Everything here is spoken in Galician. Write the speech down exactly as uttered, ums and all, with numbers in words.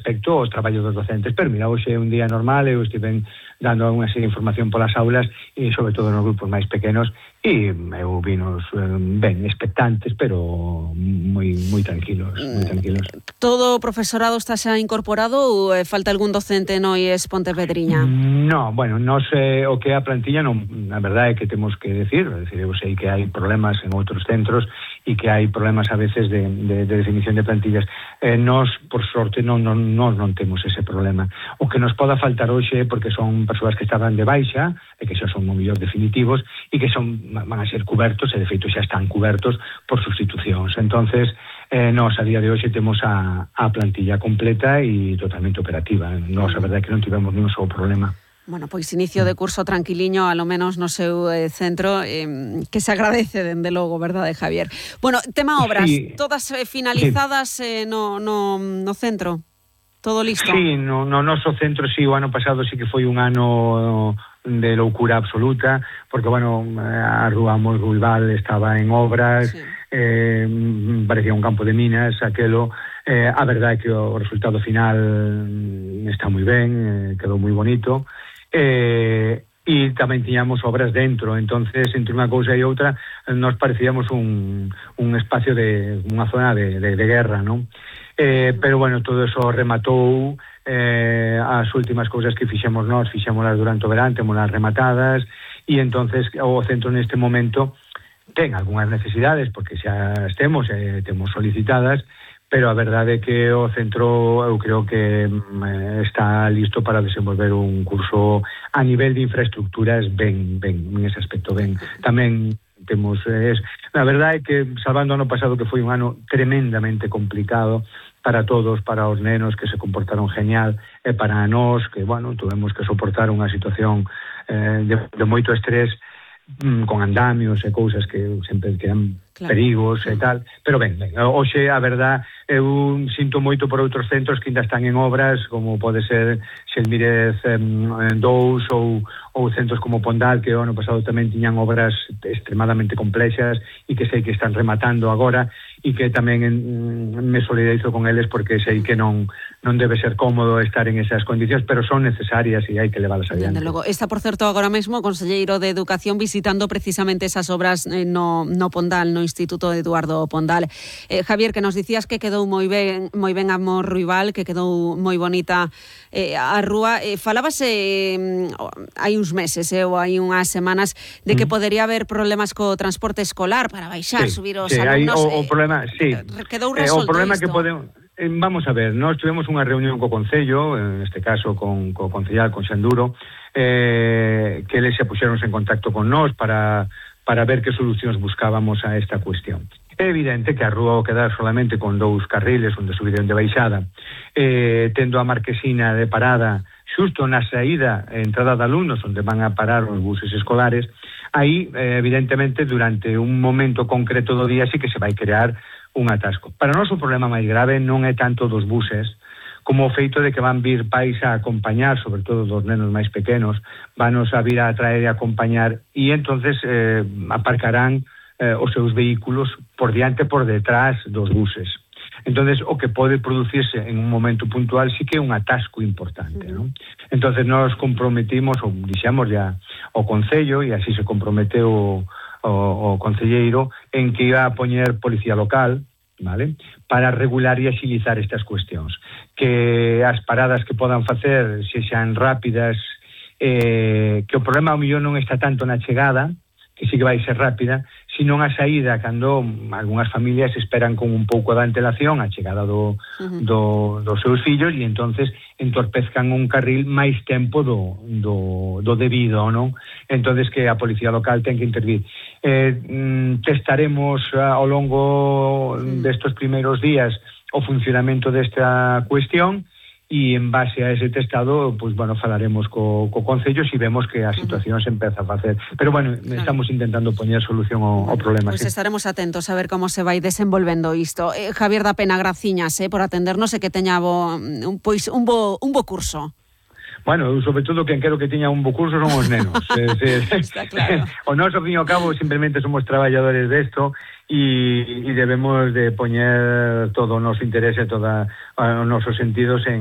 respecto ao traballo dos docentes. Pero mira, hoxe é un día normal, eu estive dando unha serie de información polas aulas e sobre todo nos grupos máis pequenos, e eu vinos eh, ben expectantes, pero moi moi tranquilos, moi tranquilos. Todo o profesorado está xa incorporado ou eh, falta algún docente no I E S Pontevedriña? No, bueno, nos eh, o que é a plantilla, non, a verdade é que temos que decir, é dicir, eu sei que hai problemas en outros centros e que hai problemas a veces de, de, de definición de plantillas. Eh, nos, por sorte, non, non, non, non temos ese problema. O que nos poda faltar hoxe, porque son persoas que estaban de baixa, e que xa son o mellor definitivos, e que son van a ser cubertos, e de feito xa están cubertos por sustitucións. Entonces, eh, nos a día de hoxe temos a, a plantilla completa e totalmente operativa. Nos, a verdade é que non tivemos ningún só problema. Bueno, pois inicio de curso tranquiliño, a lo menos no seu eh, centro, eh, que se agradece, dende logo, verdade, Javier? Bueno, tema obras, sí, todas eh, finalizadas sí. eh, no, no, no centro? Todo listo? Sí, no, no noso centro, sí, o ano pasado sí que foi un ano de loucura absoluta, porque, bueno, a Rúa Mos Ruibal estaba en obras, sí. eh, parecía un campo de minas, aquelo. Eh, a verdade é que o resultado final está moi ben, eh, quedou moi bonito, eh, e tamén tiñamos obras dentro, entonces entre unha cousa e outra nos parecíamos un, un espacio de unha zona de, de, de guerra, non? Eh, pero bueno, todo eso rematou, eh, as últimas cousas que fixemos nós, fixémolas durante o verán, temolas rematadas, e entonces o centro neste momento ten algunhas necesidades, porque xa estemos, eh, temos solicitadas, pero a verdade é que o centro eu creo que mm, está listo para desenvolver un curso a nivel de infraestructuras ben, ben, en ese aspecto ben. Tamén temos, eh, a verdade é que salvando o ano pasado, que foi un ano tremendamente complicado para todos, para os nenos que se comportaron genial, e para nós que, bueno, tuvemos que soportar unha situación eh, de, de moito estrés, mm, con andamios e cousas que sempre quedan claro. perigos e tal, pero ben, ben, hoxe a verdade eu sinto moito por outros centros que ainda están en obras, como pode ser Xelmírez dous ou, ou centros como Pondal, que o ano pasado tamén tiñan obras extremadamente complexas e que sei que están rematando agora, e que tamén en, me solidarizo con eles, porque sei que non non debe ser cómodo estar en esas condicións, pero son necesarias e hai que leválas adiante. Dende logo, está por certo agora mesmo o conselleiro de Educación visitando precisamente esas obras eh, no, no Pondal, no Instituto Eduardo Pondal. Eh, Javier, que nos dicías que quedou moi ben, moi ben a Mos Ruibal, que quedou moi bonita eh, a rúa. Eh, falábase eh, hai uns meses, eh, ou hai unhas semanas, de que mm. podería haber problemas co transporte escolar para baixar, sí, subir os sí, alumnos. Hai, o, o problema, sí. Quedou resolto eh, o problema isto? que podemos... Vamos a ver, nós tivemos unha reunión co Concello, en este caso con co Concellal, con Xanduro, eh, que eles se puxeronse en contacto con nós para, para ver que solucións buscábamos a esta cuestión. É evidente que a rúa ao quedar solamente con dous carriles, onde subida e onde baixada, eh, tendo a marquesina de parada xusto na saída e entrada de alumnos, onde van a parar os buses escolares, aí, eh, evidentemente, durante un momento concreto do día sí que se vai crear un atasco. Para nós o problema máis grave non é tanto dos buses, como o feito de que van vir pais a acompañar, sobre todo dos nenos máis pequenos, vanos a vir a traer e a acompañar, e entonces eh, aparcarán eh, os seus vehículos por diante e por detrás dos buses. Entonces, o que pode producirse en un momento puntual sí que é un atasco importante, non? Entonces, nos comprometimos, ou dixemos ya o Concello, e así se comprometeu o o, o concelleiro, en que iba a poñer policía local, vale, para regular e axilizar estas cuestións, que as paradas que podan facer sexan rápidas, eh, que o problema ao millón non está tanto na chegada, que sí que vai ser rápida, sino a saída, cando algunhas familias esperan con un pouco de antelación a chegada do, uh-huh. do, dos seus fillos, e entonces entorpezcan un carril máis tempo do, do, do debido, non? Entonces que a policía local ten que intervir. Eh, testaremos ao longo uh-huh. destes primeiros días o funcionamento desta cuestión, e en base a ese testado, pues bueno, falaremos co, co Concello se vemos que a situación uh-huh. se empeza a facer. Pero bueno, claro. estamos intentando poñer solución ao, ao problema. Pois sí. estaremos atentos a ver como se vai desenvolvendo isto. Eh, Javier da Pena, graciñas eh, por atendernos e que teña bo, un, pois, un, bo, un bo curso. Bueno, eu sobre todo quen quero que teña un bo curso son os nenos. eh, se, Está claro. O noso, ao fin e ao cabo, simplemente somos traballadores desto, e, e debemos de poñer todo o noso interese, todos os nosos sentidos en